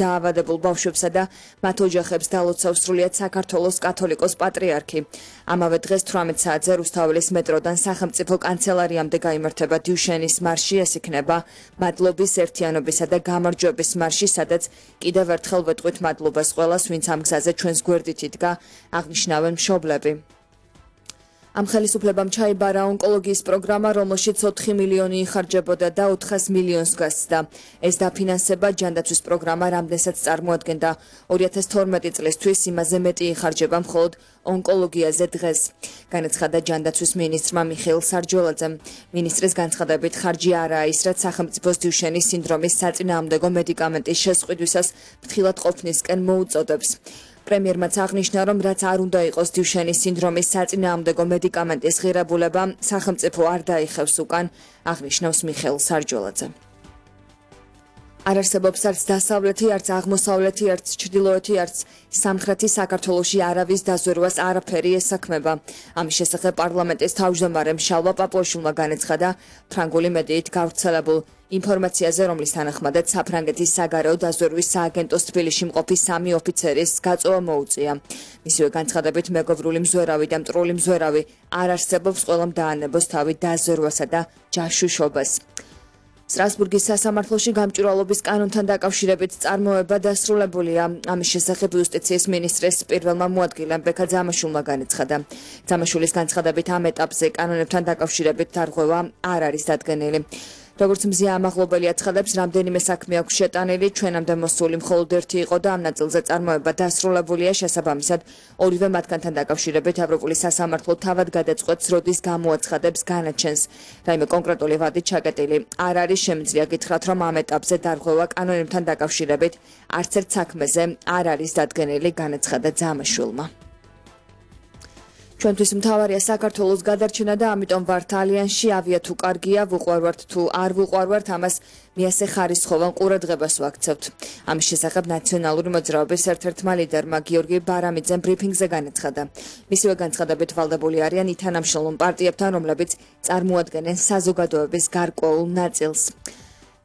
დაავადებულ ბავშვებსა და მათ ოჯახებს დალოცავს სრულიად საქართველოს კათოლიკოს პატრიარქი. ამავე დღეს 18 საათზე რუსთაველის მეტროდან სახელმწიფო კანცელარიამდე გაიმართება დიუშენის მარში, ეს იქნება მადლობის, ერთიანობისა და გამარჯვების მარში, სადაც კიდევ ერთხელ ვეტყვით მადლობას ყველას, ვინც ამ გზაზე ჩვენს გვერდით იდგა, აღნიშნავენ მშობლები. ამ ხელისუფლებამ ჩაიბარა ონკოლოგიის პროგრამა, რომელშიც 4 მილიონი იხარჯებოდა და 400 მილიონს გასცდა. ეს დაფინანსება ჯანდაცვის პროგრამა რამდენსაც წარმოადგენდა 2012 წლისთვის, იმაზე მეტი იხარჯება მხოლოდ ონკოლოგიაზე დღეს. განაცხადა ჯანდაცვის მინისტრმა მიხეილ სარჯველაძემ. მინისტრის განცხადებით ხარჯი არაა ის, რაც სახელმწიფოს დიუშენის სინდრომის საწინააღმდეგო მედიკამენტის შესყიდვისას ფრთხილად ყოფნისკენ მოუწოდებს. პრემიერმაც აღნიშნა, რომ რაც არ უნდა იყოს დიუშენის სინდრომის საწინააღმდეგო მედიკამენტის ღირებულება, სახელმწიფო არ დაიხევს უკან, აღნიშნავს მიხეილ სარჯველაძე. არ არსებობს არც დასავლეთი, არც აღმოსავლეთი, არც ჩრდილოეთი, არც სამხრეთი საქართველოში არავის დაზვერვას არაფერი ესაქმება. ამის შესახებ პარლამენტის თავმჯდომარემ შალვა პაპუაშვილმა განაცხადა ფრანგული მედიით გავრცელებულ ინფორმაციაზე, რომლის თანახმადაც საფრანგეთის საგარეო დაზვერვის სააგენტოს თბილისში მყოფი 3 ოფიცერის გაწოვა მოუწია. მისივე განცხადებით მეგობრული მზვერავი და მტრული მზვერავი არ არსებობს, ყველამ დაანებოს თავი დაზვერვასა და ჯაშუშობას. სტრასბურგის სასამართლოში გამჭვირვალობის კანონთან დაკავშირებით წარმოება დასრულებულია. ამის შესახებ იუსტიციის მინისტრის პირველმა მოადგილემ ბექა ძამაშვილმა განაცხადა. ძამაშვილის განცხადებით ამ ეტაპზე კანონებთან დაკავშირებით დარღვევა არ არის დადგენილი. როგორც მზია ამაღლობელი აცხადებს, რამდენიმე საქმე აქვს შეტანილი, ჩვენამდე მოსული მხოლოდ ერთი იყო და ამ ნაწილზე წარმოება დასრულებულია, შესაბამისად, ორივე მათგანთან დაკავშირებით ევროპული სასამართლო თავად გადაწყვეტს, როდის გამოაცხადებს განაჩენს. რაიმე კონკრეტული ვადით ჩაკეტილი არ არის, შემიძლია გითხრათ, რომ ამ ეტაპზე დარღვევა კანონებთან დაკავშირებით არც ერთ საქმეზე არ არის დადგენილი, განაცხადა ძამაშვილმა. ჩვენთვის მთავარია საქართველოს გადარჩენა და ამიტომ ვართ ალიანსში, ავია თუ კარგია, ვუყვარვართ თუ არ ვუყვარვართ, ამას მიასე ხარისხოვან ყურადღებას ვაქცევთ. ამის შესახებ ნაციონალური მოძრაობის ერთ-ერთმა ლიდერმა გიორგი ბარამიძემ ბრიფინგზე განაცხადა. მისივე განცხადებით ვალდებული არიან ითანამშრომლ პარტიებთან, რომლებიც წარმოადგენენ საზოგადოების გარკვეულ ნაწილს.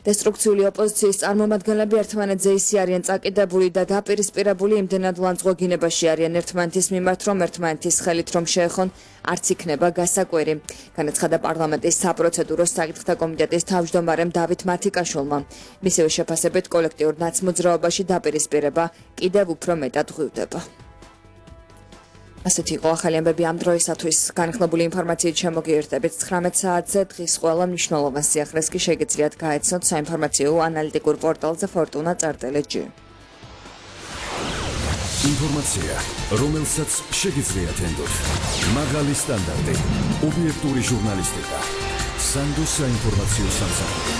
დესტრუქციული ოპოზიციის წარმომადგენლები ერთმანეთზე ისე არიან წაკიდებული და დაპირისპირებული, იმდენად ლანძღვაგინებაში არიან ერთმანეთის მიმართ, რომ ერთმანეთის ხელით რომ შეეხონ, არც იქნება გასაკვირი. განაცხადა პარლამენტის საპროცედურო საკითხთა კომიტეტის თავმჯდომარემ დავით მათიკაშვილმა. მისივე შეფასებით კოლექტიურ ნაცმოძრაობაში დაპირისპირება კიდევ უფრო მეტად ღვივდება. ასეთი იყო ახალი ამბები ამ დროისათვის. განხილებული ინფორმაციით შემოგიერთებით 19 საათზე. დღის ყველა მნიშვნელოვან სიახლეს კი შეგიძლიათ გაეცნოთ საინფორმაციო ანალიტიკურ პორტალზე fortuna.art.lg. ინფორმაცია, რომელსაც შეგიძლიათ ენდოთ. მაღალი სტანდარტი, ობიექტური ჟურნალისტიკა. სანდოს საინფორმაციო სამსახური.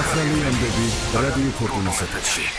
ახალი ამბები რადიო ფორტუნას ეთერში.